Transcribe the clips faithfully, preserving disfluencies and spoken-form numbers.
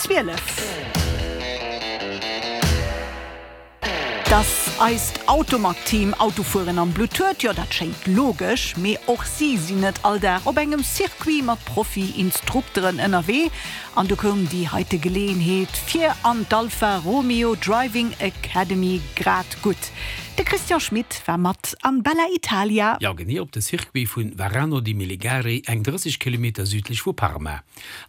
zwielef. Dass eist Automag-Team Autofueren am Blutt huet, jo dat schéngt logesch, mee och si sinn net all Dag op engem Circuit mat Profi-Instrukteren ënnerwee. An du koum déi heite Geleeënheet fir an d'Alfa Romeo Driving Academy grad gutt. De Christian Schmit war mat an Bella Italia. Jo, genee op de Circuit vu Varano di Melegari, eng drësseg Kilometer südlech vu Parma.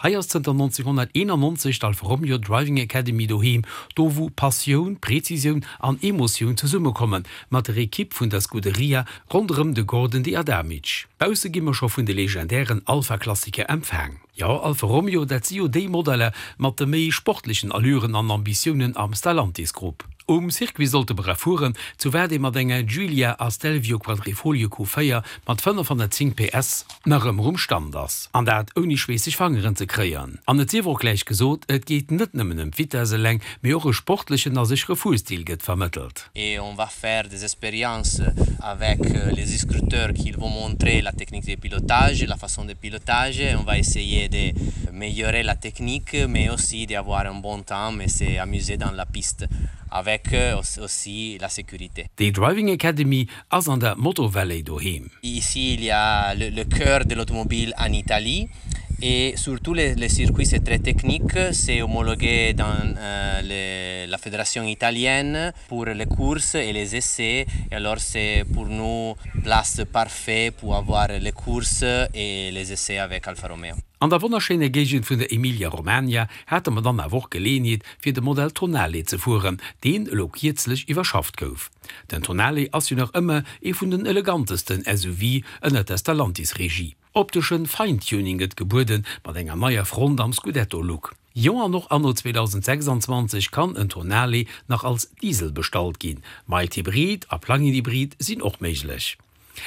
Hei ass zënter nonzénghonnerteenannonzeg d'Alfa Romeo Driving Academy doheem, do wou Passioun, Präzisioun an Emotioun zesummekommen, mat der Ekipp vun der Scuderia ronderëm de Gordon de Adamic. Bausse gi mer scho vun de legendären Alfa-Klassiker empfaang. Jo, Alfa Romeo, dat si jo déi Modeller mat de méi sportlechen Allüren an Ambitiounen am Stellantis-Grupp. Um Circuit sollte mer erfueren, zu wat ee mat enger Giulia a Stelvio Quadrifoglio Q véier mat fënnefhonnertzéng P S nach ëmmer um Stand ass. An dat ouni schweesseg Fangeren ze kréien. An et sief och gläich gesot, et geet net nëmmen ëm d'Vitess eleng, mee och e sportlechen a séchere Fuerstil gëtt vermëttelt. Et on va faire des expériences avec les instructeurs qui vont montrer la technique de pilotage, la façon de pilotage. On va essayer de améliorer la technique, mais aussi d'avoir un bon temps et s'amuser dans la piste avec aussi la sécurité. Déi Driving Academy ass an der Motor Valley doheem. Ici, il y a le, le cœur de l'automobile en Italie et surtout les, les circuits c'est très technique, c'est homologué dans euh, les, la fédération italienne pour les courses et les essais et alors c'est pour nous place parfait pour avoir les courses et les essais avec Alfa Romeo. An der wonnerschéiner Géigend vun der Emilia-Romagna hate mer dann awer och Geleeënheet fir de Modell Tonale ze fueren, deen elo kierzlech iwwerschafft gouf. Den Tonale ass jo nach ëmmer ee vun den elegantesten S U V ënnert der Stellantis-Regie. Opteschen Feintuning gëtt gebueden, mat enger neier Front am Scudetto-Look. Jo an och anno zweedausendsechsanzwanzeg kann en Tonale nach als Diesel bestallt ginn, Mild-Hybrid a Plug-in-Hybrid sinn och méiglech.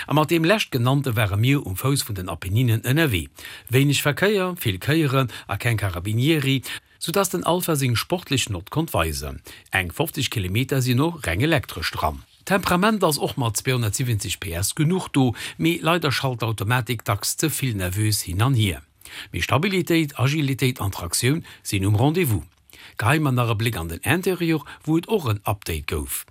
A mat deem leschtgenannte ware mir um Fouss vun den Apenninen ënnerwee. Wéineg Verkéier, vill Kéieren a keng Carabinieri, soudass den Alfa seng sportlech Nott konnt weisen. Eng fofzeg Kilometer sinn och reng elektresch dran. Temperament ass och mat zweehonnertsiwwenzeg P S genuch do, mee leider schalt d'Automatik dacks ze vill nervös hin an hier. Mee Stabilitéit, Agilitéit an Traktioun sinn um Rendez-vous. Geheie mer nach e Bléck an den Interieur, wou et och en Update gouf.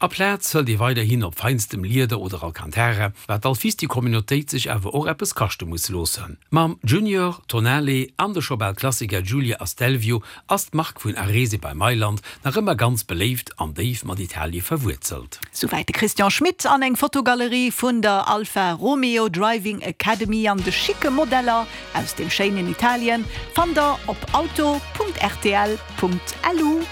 Aplaz hëlt ee weiderhin op feinstem Lieder oder Alcantara, wat d'Alfisti-Communautéit sech awer och eppes kaschte muss loossen. Mam Junior, Tonale an de scho bal Klassiker Giulia a Stelvio ass d'Mark vun Arese bei Mailand nach ëmmer ganz beléift an déif mat Italie verwuerzelt. Souwäit de Christian Schmit an eng Fotogalerie vun der Alfa Romeo Driving Academy an de schicke Modeller aus dem schéinen Italien fannt der op auto punkt rtl punkt lu.